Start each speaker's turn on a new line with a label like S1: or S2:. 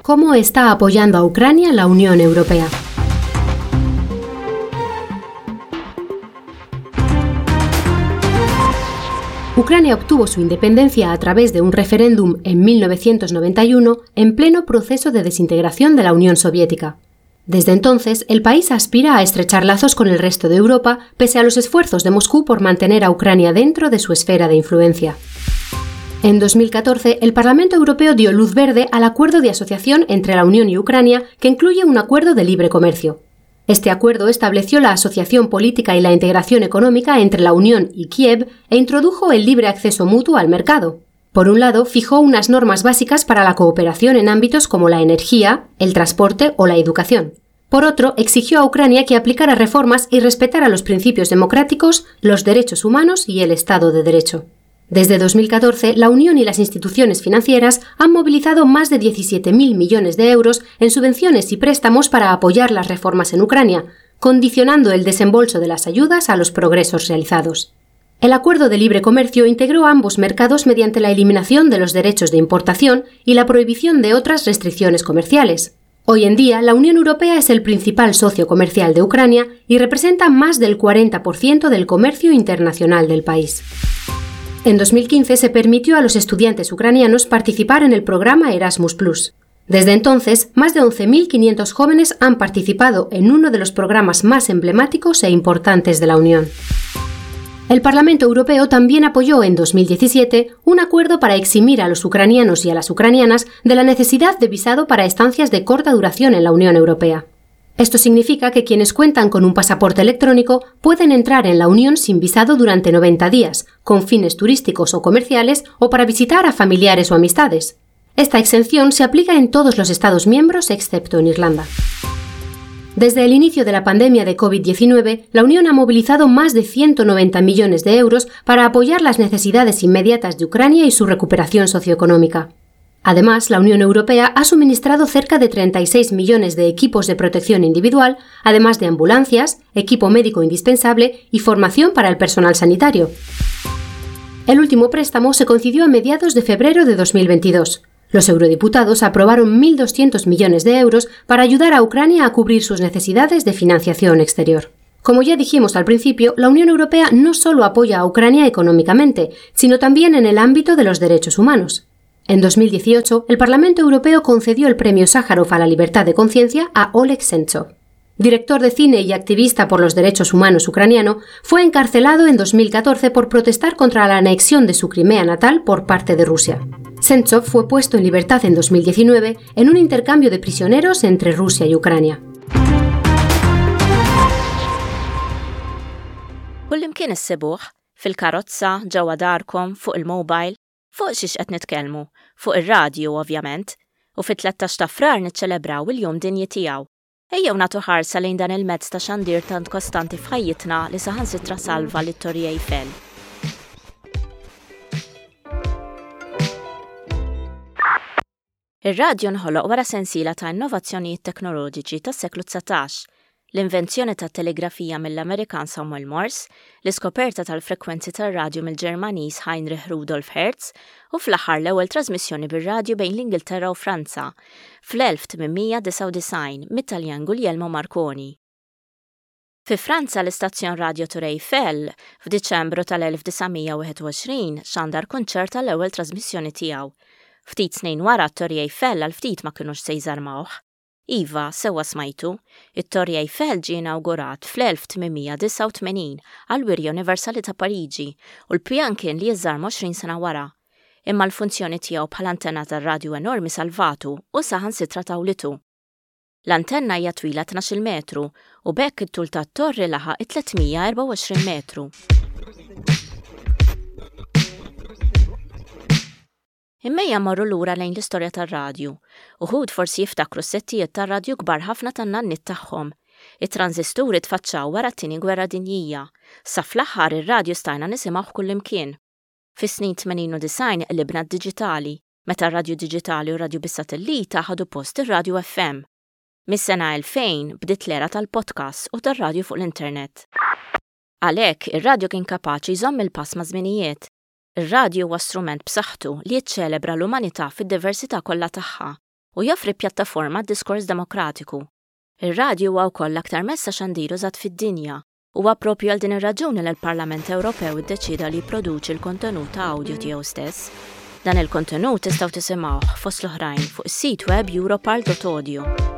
S1: ¿Cómo está apoyando a Ucrania la Unión Europea? Ucrania obtuvo su independencia a través de un referéndum en 1991 en pleno proceso de desintegración de la Unión Soviética. Desde entonces, el país aspira a estrechar lazos con el resto de Europa, pese a los esfuerzos de Moscú por mantener a Ucrania dentro de su esfera de influencia. En 2014, el Parlamento Europeo dio luz verde al acuerdo de asociación entre la Unión y Ucrania, que incluye un acuerdo de libre comercio. Este acuerdo estableció la asociación política y la integración económica entre la Unión y Kiev e introdujo el libre acceso mutuo al mercado. Por un lado, fijó unas normas básicas para la cooperación en ámbitos como la energía, el transporte o la educación. Por otro, exigió a Ucrania que aplicara reformas y respetara los principios democráticos, los derechos humanos y el Estado de Derecho. Desde 2014, la Unión y las instituciones financieras han movilizado más de 17.000 millones de euros en subvenciones y préstamos para apoyar las reformas en Ucrania, condicionando el desembolso de las ayudas a los progresos realizados. El acuerdo de libre comercio integró ambos mercados mediante la eliminación de los derechos de importación y la prohibición de otras restricciones comerciales. Hoy en día, la Unión Europea es el principal socio comercial de Ucrania y representa más del 40% del comercio internacional del país. En 2015 se permitió a los estudiantes ucranianos participar en el programa Erasmus ⁇ Desde entonces, más de 11.500 jóvenes han participado en uno de los programas más emblemáticos e importantes de la Unión. El Parlamento Europeo también apoyó en 2017 un acuerdo para eximir a los ucranianos y a las ucranianas de la necesidad de visado para estancias de corta duración en la Unión Europea. Esto significa que quienes cuentan con un pasaporte electrónico pueden entrar en la Unión sin visado durante 90 días, con fines turísticos o comerciales o para visitar a familiares o amistades. Esta exención se aplica en todos los Estados miembros excepto en Irlanda. Desde el inicio de la pandemia de COVID-19, la Unión ha movilizado más de 190 millones de euros para apoyar las necesidades inmediatas de Ucrania y su recuperación socioeconómica. Además, la Unión Europea ha suministrado cerca de 36 millones de equipos de protección individual, además de ambulancias, equipo médico indispensable y formación para el personal sanitario. El último préstamo se concedió a mediados de febrero de 2022. Los eurodiputados aprobaron 1.200 millones de euros para ayudar a Ucrania a cubrir sus necesidades de financiación exterior. Como ya dijimos al principio, la Unión Europea no solo apoya a Ucrania económicamente, sino también en el ámbito de los derechos humanos. En 2018, el Parlamento Europeo concedió el premio Sájarov a la libertad de conciencia a Oleg Sentsov. Director de cine y activista por los derechos humanos ucraniano, fue encarcelado en 2014 por protestar contra la anexión de su Crimea natal por parte de Rusia. Sentsov fue puesto en libertad en 2019 en un intercambio de prisioneros entre Rusia y Ucrania.
S2: Kullimkien issibuh, fil-karozza, ġewwa darkom, fuq il-mobile. Fuq xiex qed nitkellmu? Fuq ir-radju, ovvjament. U fit-13 ta' Frar niċċelebraw il-Jum Dinji tiegħu. Ejjew nagħtu ħarsa lejn dan il-mezz ta' xandir tant kostanti f'ħajjitna li saħansitra salva lit-Torri Eiffel. Ir-radju nħoloq wara sensiela ta' innovazzjonijiet teknoloġiċi tas-seklu 19, l-invenzjoni tat-telegrafija mill-Amerikan Samuel Morse, l-iskoperta tal-frekwenzi tar-radju mill-Ġermaniż Heinrich Rudolf Hertz u fl-aħħar l-ewwel trażmissjoni bir-radju bejn l-Ingilterra u Franza, fl-1899 mit-Taljan Guglielmo Marconi. Fi Franza l-istazzjon radju Tour Eiffel, f'Diċembru tal-1921 xandar kunċert għall-ewwel trażmissjoni tiegħu. Ftit snin wara t-Torri Eiffel għal ftit ma kinux se jżarmawh. Iva, sewwa smajtu, it-Torri Eiffel ġie inawgurat fl-1889 għall-Wirja Universali ta' Pariġi u l-pjan kien li jiżżarma 20 sena wara. Imma l-funzjoni tiegħu bħala antenna tar-radju enormi salvatu u saħansitra tawlitu. L-antenna hija twila 12-il metru u b'hekk it-tul tat-torri laħaq it-324 metru. Imma ejja mmorru lura lejn l-istorja tar-radju. Uħud forsi jiftakru s-settijiet tar-radju kbar ħafna tan-nanniet tagħhom. It-tranżisturi tfaċċaw wara t-Tieni Gwerra Dinjija. Sa fl-aħħar ir-radju stajna nisimgħuh kullimkien. Fis-snin 80 u 90 qlibna d-diġitali, meta r-radju diġitali u r-radju bis-satellita ħadu post ir-radju FM. Mis-sena 2000 bdiet l-era tal-podcasts u tar-radju fuq l-internet. Għalhekk, ir-radju kien kapaċi jżomm il-pass maż-żminijiet. Ir-radju huwa strument b'saħħtu li jiċċelebra l-umanità fid-diversità kollha tagħha. U joffri pjattaforma għad-diskors demokratiku. Ir-radju huwa wkoll l-aktar mezz ta' xandir użat fid-dinja. Huwa proprju għal din ir-raġuni li l-Parlament Ewropew iddeċieda li jipproduċi l-kontenut ta' awdjo tiegħu stess. Dan il-kontenut tistgħu tisimgħuh, fost l-oħrajn, fuq is-sit web europarl.audio.